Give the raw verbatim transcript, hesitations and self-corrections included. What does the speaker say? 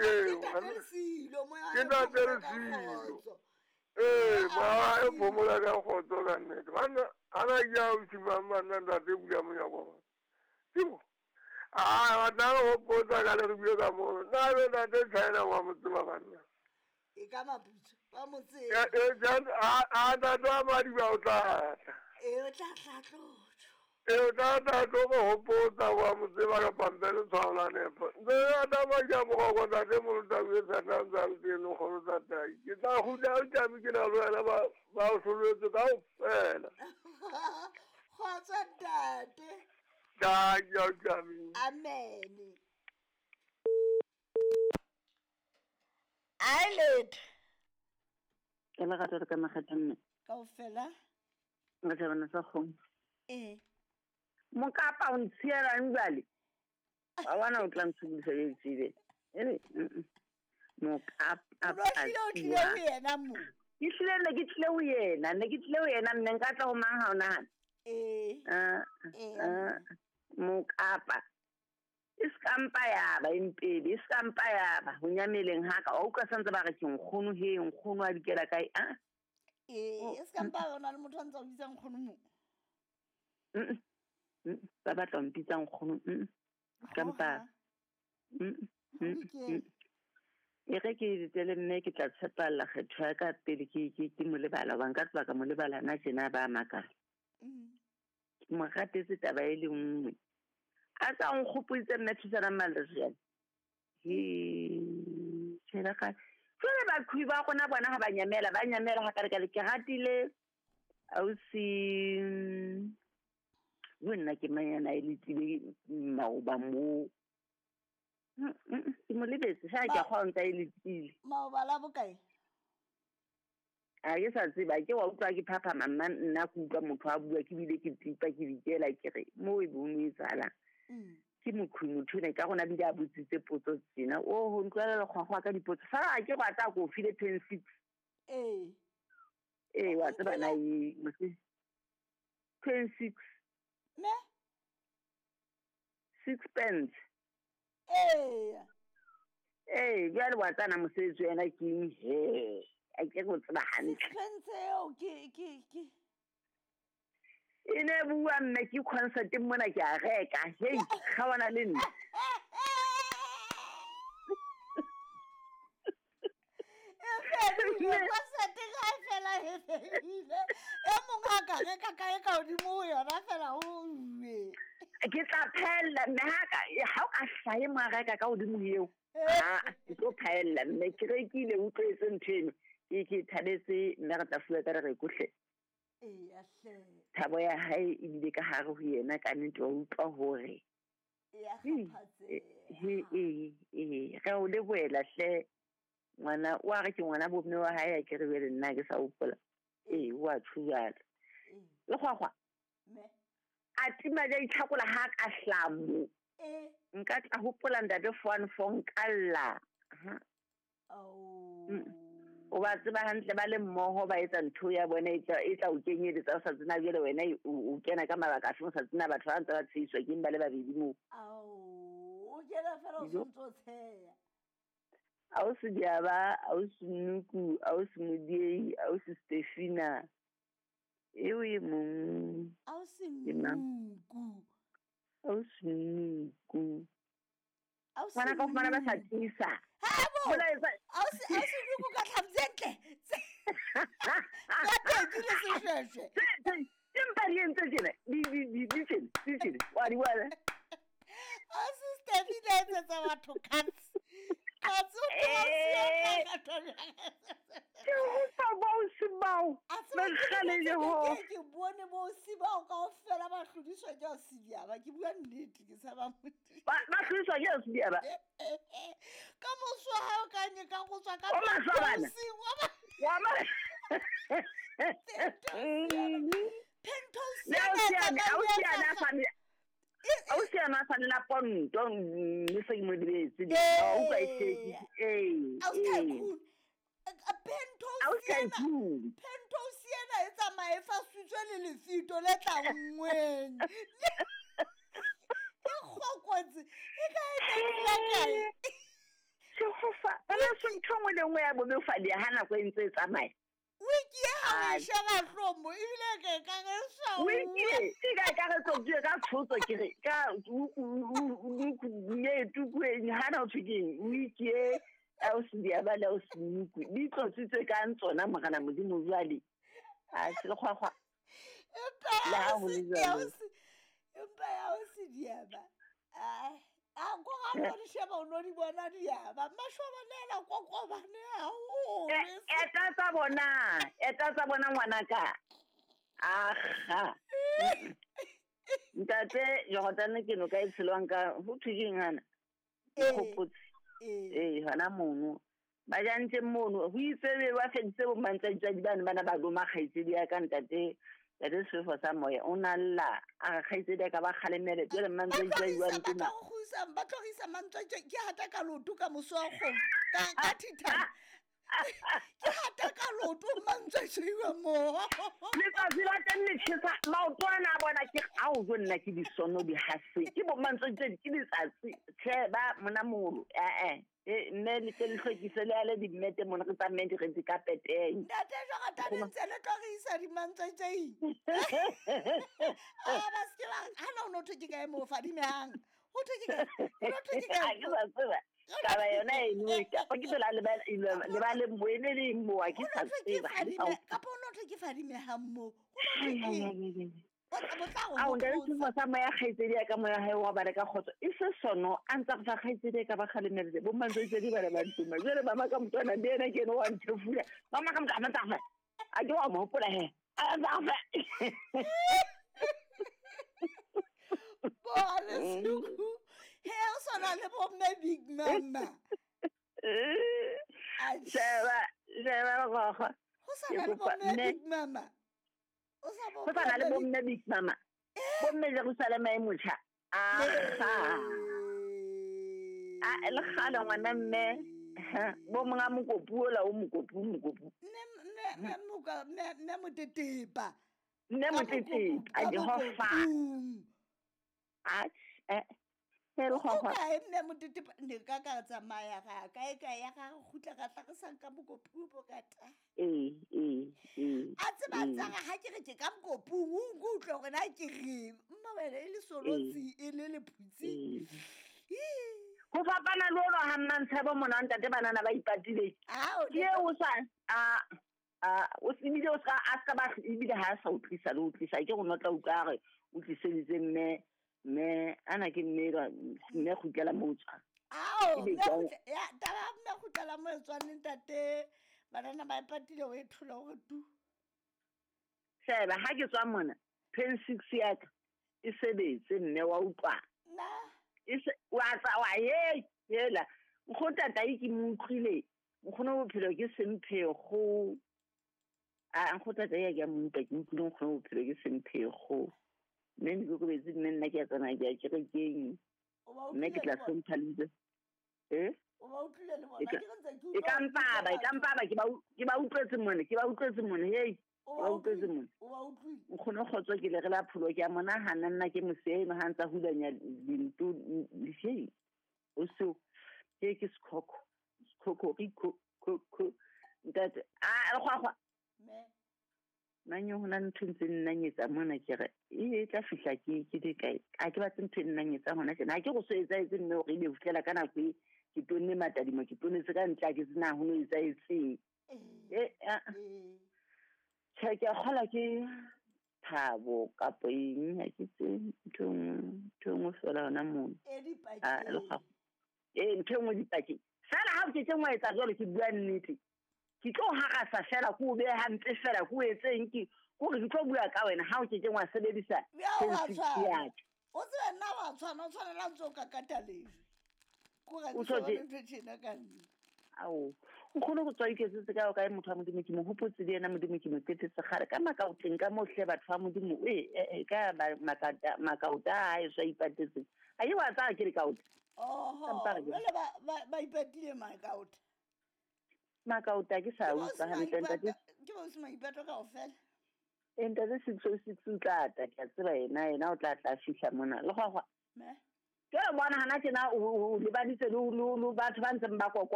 eo Ke ntate Lesilo. Ee, moya e phomola ka kgotso ka nnete. Banna ana ke a ausi mang banna ntate bula monyako wa. Timo. Ah, ba tla re hopotsa ka le re bue ka mono. Nna be ntate China wa mo tseba banna. E ka maputso ba mo tseba. E a a ntate wa Madiba o tla tla. E o tla tla tlotlo. E o tla tla tlo go hopotsa wa mo tseba ka pampiri tshwao la nepo. Ntse a tsamaya ke a moroko ntate Molota o etsa tla ntse a le teng lekgolo tsa tai. Ke tla kgutla o tjame ke na le wena ba ba o hloletswe kaofela. Kgotso ntate. Thank you, Tjame. Amen. Eyelid. Ke le rata ka makgetha mme. Kaofela. Nka thabana sa kgomo. Eh. Mokapa o ntshielang jwale. Wa bona o tla ntshubisa e tsebe. Ere mokapa O tlile o tlile ho yena mo. Ke tlile ne ke tlile ho yena, ne ke tlile ho yena mme nka tla ho mang ha o nahana. Eh. Ah. Eh. Mokapa. E skampa ya ba impedi, e skampa ya ba ho nyameleng ha ka. O utlwa santse ba re ke nkgono he, nkgono a dikela kae a? Eh, e skampa ona le motho a ntse a bitsa nkgono mo. Mm. Mm. Ba batla mpitsa nkgono. Mm. Skampa. Mm. Mm. E re ke ditele mme ke tla tshepalla kgetho ya ka pele ke ke ke mo lebala ba nka tswa ka mo lebala na tjena ba makala. Mm. Ke mo ratetse taba e le nngwe. A tsa nkgopoditse mme thusana Malesjane. He tjela ka. Jwale baqhubi ba rona bona ha ba nyamela, ba nyamela ha ka re ka ke ratile ausi bo nna ke manyana e letsile maoba mo. Ke mo lebetse ha ke kgwa ntsa e letsile. Maoba la bokae? A ke sa tseba ke wa utlwa ke phaphama mma nna ke utlwa motho a bua ke bile ke tipa ke dikela ke re mo e bone e tsala. Ke mokhwi motho ne ka rona bile a botsitse potso tsena o ho ntlwela lekgwakgwa ka dipotso fa a ke go atla go file ten six. Eh. Eh wa tseba na e mose ten six. Me? Six pence. Eh. Eh jwale wa tsana mosebetsi wena ke eng he? A ke go tseba hantle. Six pence eo ke ke ke e ne bua mme ke concert mona ke a reka. Hei, ga wana le nna. E fedile concert ga e fela e fedile. E mongwe a ka reka kae ka hodimo ho yona fela o uwe. Ke tla phella mme ha ka ha o ka hlahe mo a reka ka hodimo ho eo. Ah, ke tlo phella mme ke rekile o utlwetse ntho eno. Ke ke thabetse mme re tla fuwa ka re kohle. E ya hle. Thabo ya hae e bile ka hare ho yena ka nnete wa utlwa hore E ya kgaphatseha. He e e re o lebohela hle ngwana wa re ke ngwana bo mme wa hae a ke re bele nna ke sa hopola. E wa tshujalo. Le kgwakgwa. Me. A tima ja itlhakola ha ka hlamo. Eh. Nka tla hopola ntate four four nka lla. Ha. Ao. O ba tseba hantle ba le mmoho ba etsa ntho ya bona e tla e tla o kenyeletsa o sa tsena jwale wena o kena ka mabaka a feng o sa tsena batho ba ntse ba tsheiswa ke ba le babedi moo. Ao, o kena fela o sontso tsheya. Ausi Diaba, ausi Nuku, ausi Modiei, ausi Stefina. Eo e mong. Ausi Nuku. Ausi Nuku. Ausi Ngwana ka fumana ba sa tiisa. Ha bo. Ausi ausi Nuku ka tlhapi tse ntle. Ka teki le seshweshwe. Empa di entse tjena, di di di di tjena, di tjena. Wa di bona. Ausi Stefina etsetsa batho cuts. Cuts o tla Ke utlwa bo bao. Mekgale le ho. Ke bone bo bao kaofela ba hlodiswa ke ausi Diaba. Ke bua nnete ke sa ba motho. Ba ba hlodiswa ke ausi Diaba. Ka moso ha o ka nye ka go tswa ka O maswabana. Wa ma. Penthouse. Ne ausi ana, ausi ana sa Ausi ana sa nna ponto mme se ke mo lebetse. O utlwa e tsheki. Eh. Ausi Tycoon. Penthouse ena. Penthouse ena e tsamaye fa sutswe le lefito le tla nngweng. E kgokotse. E ka e tla kae? Jehova so ntho nngwe le nngwe ya bobefadi ha nako e ntse e tsamaya. Wiki e ha o sheba hlomo ebile ke ka re sa wiki e ka ka re tlo ka tshotso ke re ka ne tukwe hana o thukeng wiki e a o se di ba la o se nuku di tlotsitse ka ntsona morena Modimo jwale a se le kgwakgwa empa ha ho le jwalo empa ya o se di ba a a go ga no di sheba o no di bona di ya ba mashoba nela kokobane ha o eta tsa bona eta tsa bona ngwana ka aha ntate Jordan ke no ka e tshelwang ka ho thujeng hana khopotse eh hana mono ba jantse mono ho itse ba feditse bo mantsatsi di bana bana ba loma kgaitse di ya ka ntate ntate sefo sa moya o na lla a kgaitse di ka ba kgalemele jwale mantsatsi wa ntuna ba tlogisa ba tlogisa mantsatsi ke hata ka loto ka moso wa kgomo ka ka thithana ke hata ka loto mantsatsi wa mo letsatsi la teng le tjhesa maotwana a bona ke ao jo nna ke disono di hase ke bo mantsatsi ke letsatsi tjhe ba mona molo eh eh e mme le tle le hlwekise le ale dimmete mona re tsamaye di re di ka peteng ntate Jordan ntse le tlogisa di mantsatsi a ba se ba ha no no thwe ke kae mo fadimehang ho thwe ke kae ho thwe ke kae ke sa tseba taba yona eno ka ke phela le ba le ba le moene le mo a ke sa tseba ka po no thwe ke fadimehang mo ho thwe ke a o ndale sefo sa moya kgaitsedi ya ka moya hae wa ba re ka kgotso e se sono a ntse go fa kgaitsedi ka ba kgalemeletse bo mantsatsi di ba le ba ntuma jwale mama ka motwana le ena ke ene wa nthefula mama ka motwana tsa a ke wa mo hopola he a tsa fa bo le suku he o sona le bo mme big mama a sheba sheba go go ho sona le bo mme big mama o sa le bomme big mama bomme Jerusalema e motjha a a le kgale ngwana mme bo monga mokopu ola o mokopu mokopu mme mme moka mme mme motetepa mme motetepa a Jehova a eh o mme motetepa ne ka ka tsamaya ga kae kae ya ga gutla ga tla re sang ka mokopu bo ka ta eh eh eh a tseba tsa ga ke re ke ka mokopu o nkutlwe gore na ke re mma wena e le solotsi e le lephutsi go fapana le ono ha mmantshebo mona ntate banana ba ipatile ke o sa a a o sebile o ska a ska ba ebile ha sa utlwisa le utlwisa ke go notla utlwa re o tliseditse mme mme ana ke mme mme gutlela mo tswa ao ya taba mme gutlela mo tswa ntate banana ba ipatile o e thola gore tu sheba ha ke tswa mona ten six ya ka e sebetse mme wa utlwa na e se wa tsa wa ye hela nkgotata e ke mo utlwile nkgono bophelo ke semphego a nkgotata ya ke mo utlwa ke utlwile nkgono bophelo ke semphego mme ne ke kobetse mme nna ke a tsamaya ke ya kerekeng mme ke tla hlompha lebitso eh e ka mpaba e ka mpaba ke ba ke ba utlwetse mone ke ba utlwetse mone hei ba utlwetse mone nkgono kgotso ke le re la pholo ke a monahana nna ke moseno ha ntsa hulanya dinto hei o so ke ke sekhokho sekhokho re kho kho ntate a kgwakgwa mme manyo hona ntho ntse nnanyetsa mona ke re e tla fihla ke ke di kae a ke batse ntho nnanyetsa hona tjena ha ke go so etsaetse mme hore ebe fihlela ka nako e ke tonne matadimo ke tonetse ka ntle ke tsena ho no etsaetseng e tjhe ke a kgola ke thabo kapo eng ha ke tse ntho ntho nngwe fela hona mono e ntho nngwe dipakeng fela ha o ke tse ngwa etsa jwalo ke bua nnete ke tlo harasa fela ko be hampe fela ko etseng ke gore ke tlo bua ka wena ha o ke ke ngwa sebedisa o tsebe nna wa tshwana o tshwanela ntse o kakata lejwe ko ga ke ntho tjena ka nna ao nkgono go tswa iketsetse ka kae motho wa Modimo ke mo hopotse le yena Modimo ke mo qetetse kgale ka makaoteng ka mohle batho ba Modimo e ka makata makaota a e swa ipatetse a ye wa tsaya ke le kaota oho jwale ba ba ipatile makaota makaota ke sa utlwa hantle ntate ke bo se maipato kaofela e ntate six oh six o tla tla ke a tseba yena yena o tla tla fihla mona le gwa gwa me ke bona hana tjena o lebaditse le batho ba ntseng ba kokota.